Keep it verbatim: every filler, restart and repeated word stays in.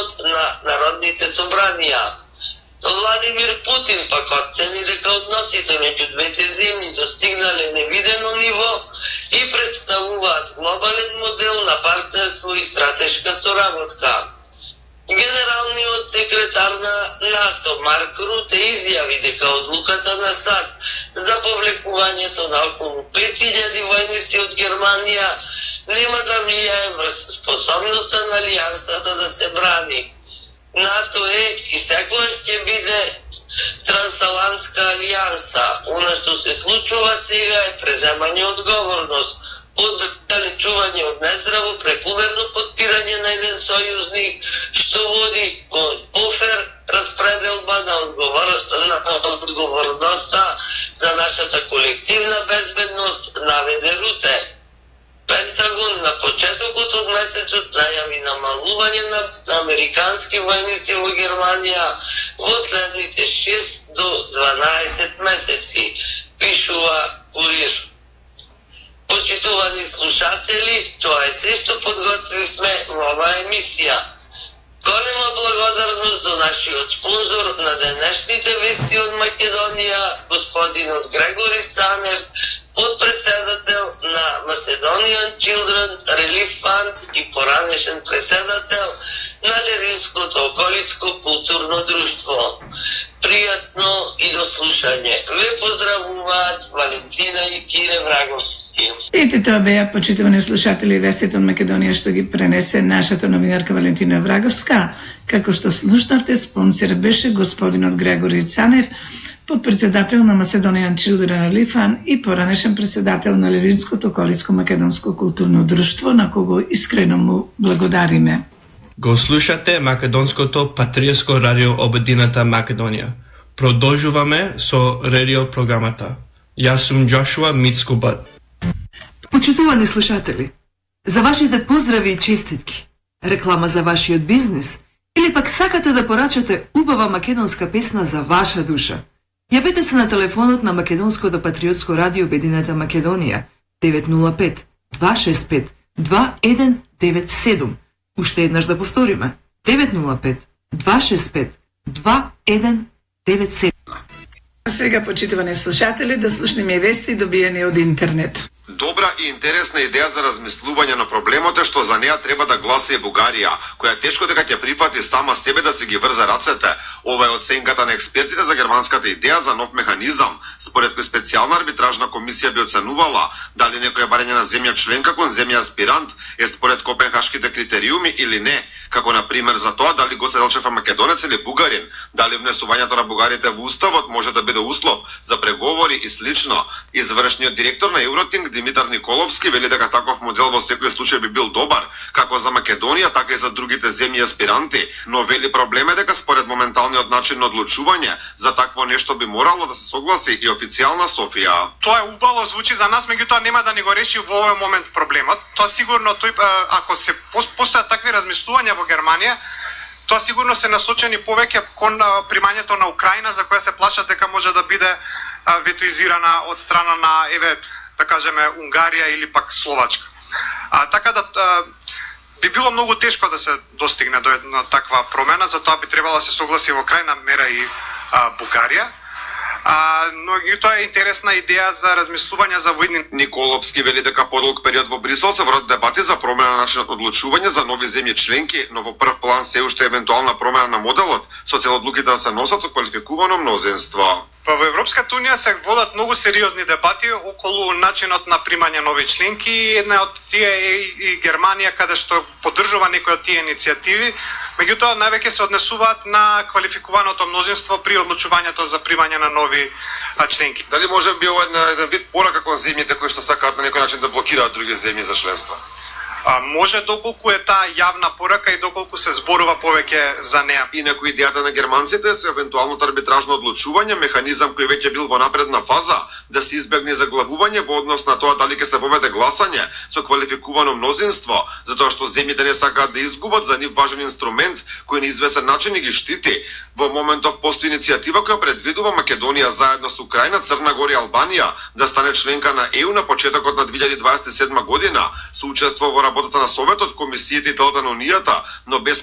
системот на народните собранија. Владимир Путин пак оцени дека односите меѓу двете земји достигнале невидено ниво и представуваат глобален модел на партнерство и стратешка соработка. Генералниот секретар на НАТО Марк Руте изјави дека одлуката на САД за повлекувањето на околу пет илјади војници од Германија нема да влијае врз способноста на алијансата да се брани. НАТО е и секогаш ќе биде трансатлантска алијанса. Она што се случува сега е преземање одговорност, оддалечување од нездраво прекумерно подпирање на еден сојузник, што води кон пофер распределба на, одговор... на одговорноста за нашата колективна безбедност, наведе Руте. Пентагон на почетокот од месецот најави намалување на американски војници во Германија во следните шест до дванаесет месеци, пишува Курир. Почитувани слушатели, тоа е се што подготвивме во оваа емисија. Голема благодарност до нашиот спонзор на денешните вести од Македонија, господинот Грегори Цанев, подпредседател на Macedonian Children Relief Fund и поранешен председател на Леринското околиско културно друштво. Пријатно и до слушање. Ве поздравуваат Валентина и Кире Враговски. Ете тоа беа, почитувани слушатели, вестите од Македонија што ги пренесе нашата новинарка Валентина Враговска. Како што слушнавте, спонсор беше господинот Грегори Цанев, подпредседател на Macedonian Children Relief Fund и поранешен председател на Леринското околиско македонско културно друштво, на кого искрено му благодариме. Го слушате Македонското патриотско радио Обединета Македонија. Продолжуваме со радио програмата. Јас сум Джошуа Мицкубат. Почитувани слушатели, за вашите поздрави и честитки, реклама за вашиот бизнис или пак сакате да порачате убава македонска песна за ваша душа, јавете се на телефонот на Македонското патриотско радио Обединета Македонија девет нула пет два шест пет два еден девет седум. Уште еднаш да повториме. девет нула пет два шест пет два еден девет седум. Сега, почитувани слушатели, да слушнеме вести добиени од интернет. Добра и интересна идеја за размислување на проблемот е што за неа треба да гласа и Бугарија, која тешко дека ќе прифати сама себе да се ги врзе рацете. Ова е оценката на експертите за германската идеја за нов механизам, според кој специјална арбитражна комисија би оценувала дали некоја барање на земја членка кон земја аспирант е според копенхашките критериуми или не, како на пример за тоа дали Гоце Делчев е македонец или бугарин, дали внесувањето на бугарите во уставот може да биде услов за преговори и слично. Извршниот директор на Евротинг Димитар Николовски вели дека таков модел во секој случај би бил добар, како за Македонија, така и за другите земји аспиранти, но вели проблем е дека според моменталниот начин на одлучување, за такво нешто би морало да се согласи и официјална Софија. Тоа е убаво звучи за нас, меѓутоа нема да ни го реши во овој момент проблемот. Тоа сигурно тој ако се постојат такви размислувања во Германија, тоа сигурно се насочени повеќе кон примањето на Украина, за која се плашат дека може да биде ветоизирана од страна на еве да кажеме Унгарија или пак Словачка. А, така да а, би било многу тешко да се достигне до една таква промена, затоа би требало да се согласи во крајна мера и а, Бугарија. А, но и тоа е интересна идеја за размислување за војни. Николовски вели дека подолг период во Брисел се водат дебати за промена на начинот одлучување за нови земји членки, но во прв план се уште евентуална промена на моделот, со цел одлуките да се носат со квалификувано мнозинство. Па во Европската унија се водат многу сериозни дебати околу начинот на примање нови членки. Една од тие е и Германија, каде што поддржува некои од тие иницијативи. Меѓутоа, највеќе се однесуваат на квалификуваното мнозинство при одлучувањето за примање на нови членки. Дали може би ова еден вид порака кон земјите кои што сакаат на некој начин да блокираат други земји за членство? А, може доколку е таа јавна порака и доколку се зборува повеќе за неа. Инаку идејата на германците со евентуалното арбитражно одлучување, механизам кој веќе бил во напредна фаза, да се избегне заглавување во однос на тоа дали ќе се воведе гласање со квалификувано мнозинство, затоа што земјите не сакаат да изгубат за нив важен инструмент кој на известен начин ги штити. Во моментов постои иницијатива која предвидува Македонија заедно со Украина, Црна Гора и Албанија да стане членка на Е У на почетокот на две илјади дваесет и седма година, со учество во работата на Советот, комисиите и телата на Унијата, но без